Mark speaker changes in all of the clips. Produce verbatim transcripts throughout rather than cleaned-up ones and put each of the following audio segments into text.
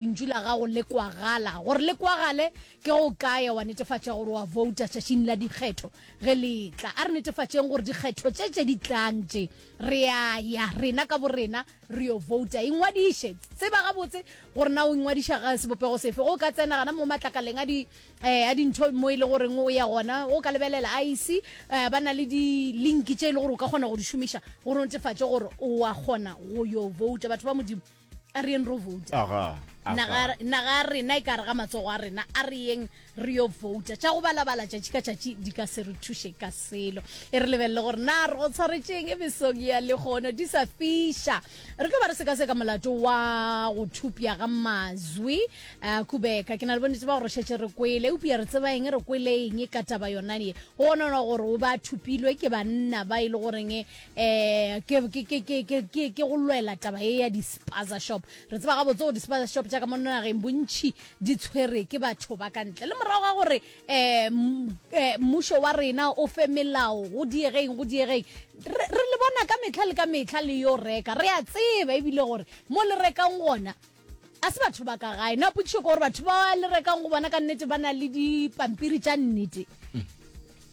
Speaker 1: Lentšu la gago le kwagala. Gore le kwagale, ke go kae wa netefatša gore wa vouta tšatšing la dikgetho ge le etla? A re netefatšeng gore dikgetho tše tše di tlang tše, re a ya rena ka borena re yo vouta. Ingwadiše. Tseba gabotse gore na o ingwadiša ga sebopego sefe. Ge o ka tsena gana mo matlakaleng a di, eh, a dintho mo e le goreng o ya gona, o ka lebelela I E C, eh, ba na le di-link tše e le gore o ka kgona go di šomiša gore o netefatše gore o a kgona go yo vouta. Batho ba Modimo, a re yeng ro vouta.
Speaker 2: Aga, aga.
Speaker 1: Naga, naga ya rena e ka re ga matsogo a rena, a re yeng re yo vouta. Tša go balabala tšatši ka tšatši di ka se re thuše ka selo. E re lebelele gore na re go tshwaretšeng e mesong ya lehono di sa fiša. Re tlo ba re sekaseka molato wa go thupja ga Mazwi, eh, Kubeka. Ke na le bonnete ba gore šetše re kwele, eupša re tseba eng, re kwele eng ka taba yona ye. Go bonona gore o ba thupilwe ke banna ba e le goreng, eh, ke, ke, ke, ke, ke, ke, ke go lwela taba ye ya di-spaza shop. Re tseba gabotse gore di-spaza shop tša ka mo nageng bontši di tshwere ke batho ba ka ntle. Le morago ga gore, eh, m-, eh, mmušo wa rena o fe melao go diegeng, go diegeng, re, re le bona ka mehla le ka mehla le yo reka. Re a tseba ebile gore mo le rekang gona a se batho ba ka gae. Na potšišo ke gore batho ba le rekang go bona ka nnete ba na le dipampiri tša nnete?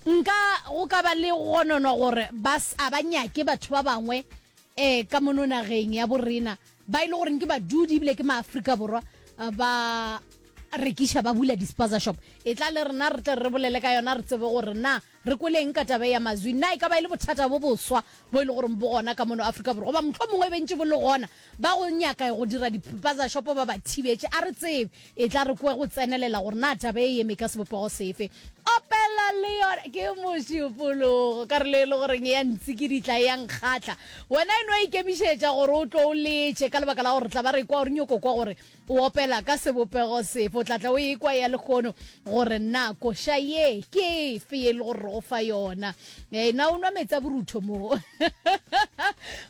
Speaker 1: Nka go ka ba le gononwa gore ba s-, a ba nyake batho ba bangwe, eh, ka mono nageng ya borena ba e le goreng ke badudi ebile ke maAfrika Borwa, ba rekiša, ba bula di-spaza shop. E tla le rena re tle re bolele ka yona, re tsebe gore na re kweleng ka taba ya Mazwi. Na e ka ba e le bothata bo boswa bo e le goreng bo gona ka mono Afrika Borwa, goba mohlomongwe e bentše bo le gona ba go nyaka go dira di-spaza shop ba ba thibetše, a re tsebe. E tla re kwe go tsenelela gore na taba e eme ka sebopego sefe. Opela le yona ke mošupologo, karolo e le goreng ya ntsikiditla e ya nkgatla. Wena e no ikemišetša gore o tlo o letše ka lebaka la gore tla ba re kwa gore nyoko kwa gore o opela ka sebopego sefe. O tla tla o ekwa ya lehono gore na koša ye ke efe e le gore re go fa yona. Eh, na o nwa metsi a borutho mo?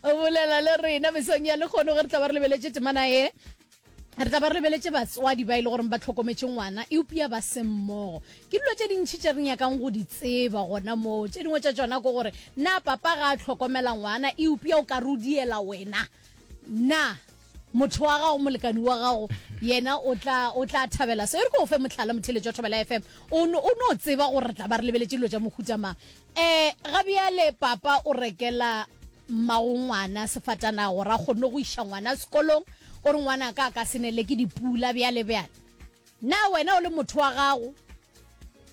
Speaker 1: O bolela le rena mesong ya lehono ge re tla ba re lebeletše temana e. Re tla ba re lebeletše batswadi ba e le gore ba hlokometše ngwana eupša ba se mmogo. Ke dilo tše dintši tše re nyakang go di tseba gona moo. Tše dingwe tša tšona ke gore na papa ga a hlokomela ngwana eupša o ka rudiela wena, na motho wa gago, molekani wa gago, yena o tla, o tla thabela se. E re ke o fe mohlala, motheletši wa Thobela F M, o no, o no tseba gore re tla ba re lebeletše dilo tša mohuta mang. Eh, ga bjale papa o rekela mmago ngwana sefatanaga gore a kgone go iša ngwana sekolong, o re ngwana ka a ka se nele ke dipula bjale bjale. Na wena o le motho wa gago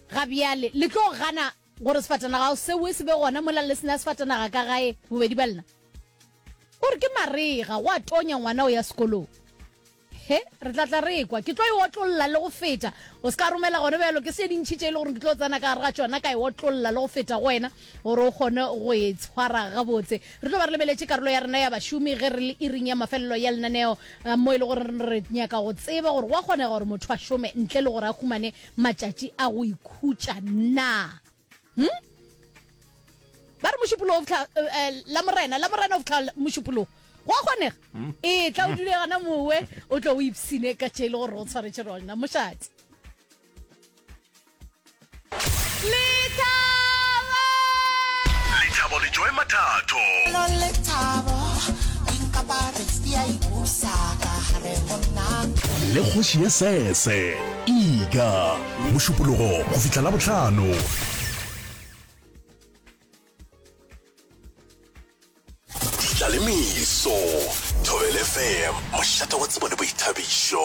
Speaker 1: ga bjale le tlo gana gore sefatanaga seo se be gona mola le sena sefatanaga ka gae bobedi ba lena? O re ke marega, go a tonya ngwana o ya sekolong. He, re tla tla re kwa. Ke tlo e otlolla le go feta. O se ka romela gona bjalo, ke se dintši tše e le gore ke tlo tsena ka gare ga tšona, ka e otlolla le go feta go wena gore o kgone go e tshwara gabotse. Re tlo ba re lebeletše karolo ya rena ya bašomi ge re le iring ya mafelelo ya lenaneo, eh, mo e le gore re nyaka go tseba gore go a kgonega gore motho a šome ntle le gore a humane matšatši a go ikhutša na. Hm? Ba re mošupologo o fihla, eh, eh, la morena, la morena o fihla mošupologo. Go a kgonega? E tla o dule gana mowe, o tlo o ipsine ka tše e le gore o tshwaretše rona. Mošate. Lethabo!
Speaker 3: Lethabo le Joy Mathatho.
Speaker 4: Lethabo, dinkapare di a ipusa ka gare go nna.
Speaker 3: Le kgoši ya sese, Iga, mošupologo go fihla Labohlano. Tla le meso, Thobela F M, mošate wa tsebo le boithabišo.